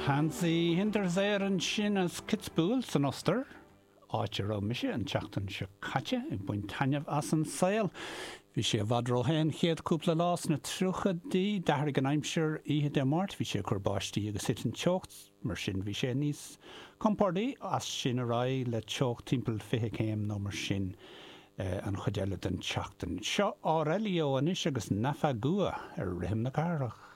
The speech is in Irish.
Hansi Hinterseer ansin as Kitzbühel san Ostair, áit a raibh mise an tseachtain seo caite ag baint taitneamh as an saol. Bhí sé i bhfad róthe an chéad cúpla lá sna tríochaidí, d'athraigh an aimsir oíche Dé Máirt, bhí sé ag cur báistí agus thit an teocht, mar sin bhí sé níos compordaí as sin ar aghaidh le teocht timpeall 20 céim nó mar sin an chuid eile den tseachtain. Seo Aurelio anois agus Nafagua ar Rithim na Cathrach.